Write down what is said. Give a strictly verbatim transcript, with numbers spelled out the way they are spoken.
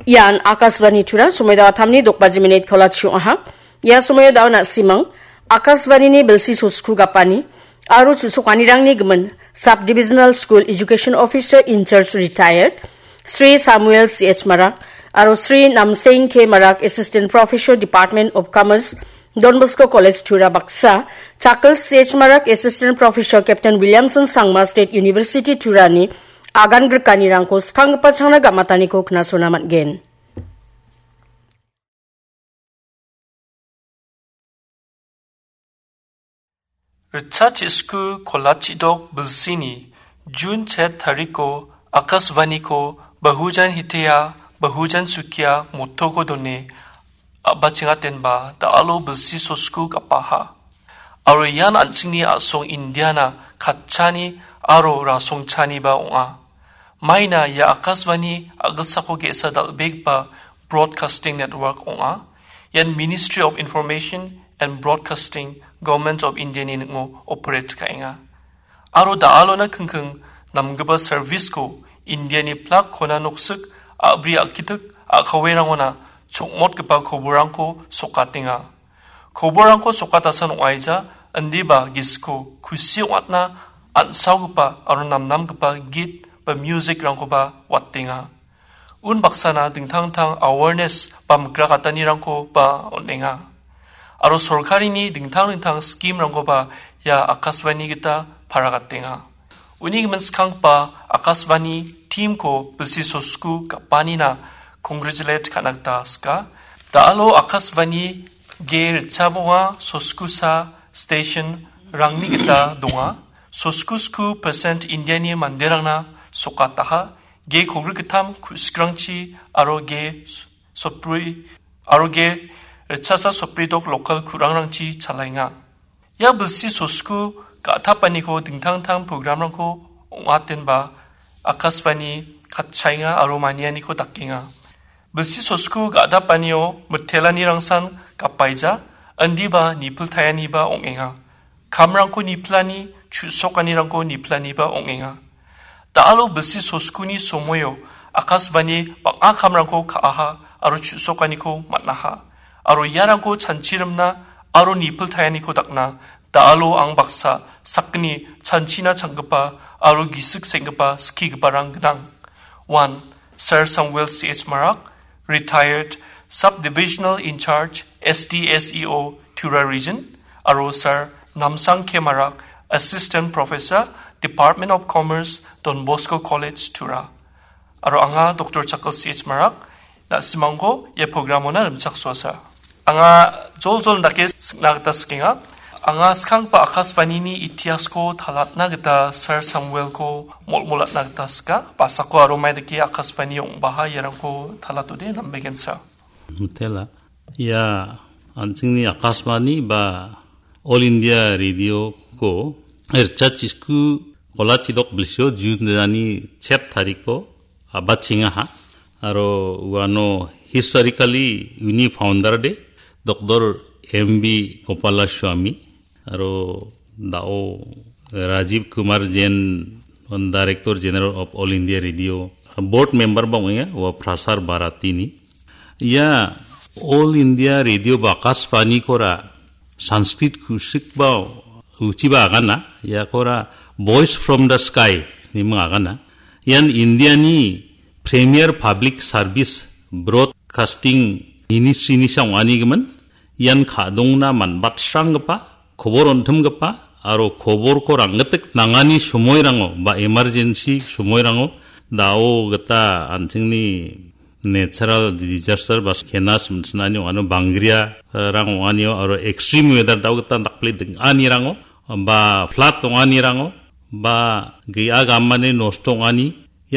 Ian Akashvani Tura, somoio da·o atamni dok baji minit kolachio aha. Ia somoio da·o na·simang Akashvanini bilsi sosku gapani aro chu·sokanirangni gimin Sub Divisional School Education Officer in Charge Retired Sri Samuel C H Marak aro Sri Namseng K Marak, Assistant Professor, Department of Commerce, Don Bosco College Tura baksa, Chakal C H Marak, Assistant Professor, Captain Williamson Sangma State University Turani agan grikanirangko skanggipa changna gam·ataniko knasona man·gen. Ritchachasku kolachidok bilsini Jun chet tariko Akashvaniko Bahujan Hitiya, Bahujan Sukiya mottoko done a·bachengatenba da·alo bilsi sosku gapaha. Aro ian an·chingni a·song Indiana katchani aro rasongchaniba ong·a. Maina ia Akashvani a·gilsako ge·sa dal·begipa broadcasting network ong·a. Ian Ministry of Information and Broadcasting, Government of India-ni ning·o operate ka·enga. Aro da·alona kingking namgipa service-ko Indiani plak kona noksik a·bri a·kitik a·kawerangona chokmotgipa koborrangko sokatenga. Koborrangko sokatasan ong·aija indiba gisiko kusi ong·atna an·saogipa aro namnamgipa git ba music-rangkoba watenga. Unbaksana dingtang dingtang awareness ba mikrakatanirangkoba on·enga. Aro sorkarini dingtang dingtang scheme-rangkoba ia Akashvani gita paragatenga. Uni gimin skanggipa Akashvani team-ko bilsi sosku gapanina congratulate ka·na gita sika. Da·alo Akashvani ge ritchabonga soskusa station-rangni gita donga. Soskusku percent Indiani manderangna sokataha. Ge kogrik gittam ku·sikrangchi aro ge sopri aro ge ritchasa sopridok local ku·rangrangchi chalaenga. Ia bilsi sosku ga·tapaniko dingtang dingtang program-rangko ong·atenba Akashvani katchaenga aro manianiko dakenga. Bilsi sosku ga·dapanio mitelanirangsan gapaija, indiba nipiltaianiba ong·enga. Kamrangko nipilani, chu·sokanirangko nipilaniba ong·enga. Da·alo bilsi soskuni somoio Akashvani bang·a kamrangko ka·aha aro chu·sokaniko man·aha. Aro iarangko chanchirimna aro nipiltaianiko dakna da·alo ang baksa sakgni chanchina changgipa aro gisik senggipa skigiparang gnang. One, Sir Samuel C H Marak, retired Sub-Divisional in Charge, S D S E O, Tura Region, aro Sir Namsang K Marak, Assistant Professor, Department of Commerce, Don Bosco College, Tura. Aro anga Doctor Chakal C H Marak, na·simangko ia program-ona rimchaksoasa. Anga joljol dake sikna gita sikenga. Anga skanggipa Akashvanini itiasko talatna gita Sir Samuelko molmolatna gita sika. Basako aro mai dake Akashvani ong·baha iarangko talatode nambegensa. Mitela. Ia an·chingni Akashvani ba All India Radio-ko ritchachisku kolachidok bilsio June-ni chet tariko a·bachengaha. Aro uano historically uni founder de Doctor M B Gopalaswamy, aro da·o Rajiv Kumar Jain, Director General of All India Radio, board member ba ong·enga, ua Prasar Bharatini. Ia All India Radio ba Akashvani-kora Sanskrit ku·sik ba uchiba agana, iakora Voice from the Sky ni ming agana. Ian Indiani Premier Public Service Broadcasting Ministry-ni sa ong·ani gimin. Ian ka·dongna man·batsranggipa, kobor on·timgipa aro koborko rang·gitik nangani somoirango ba emergency somoirango da·o gita an·chingni natural disaster ba kenas mitsinani ong·ano bangria, eh, rang ong·anio aro extreme weather da·o gita dakple ding·anirango ba flood ong·anirango ba ge·a gamani nosto ong·ani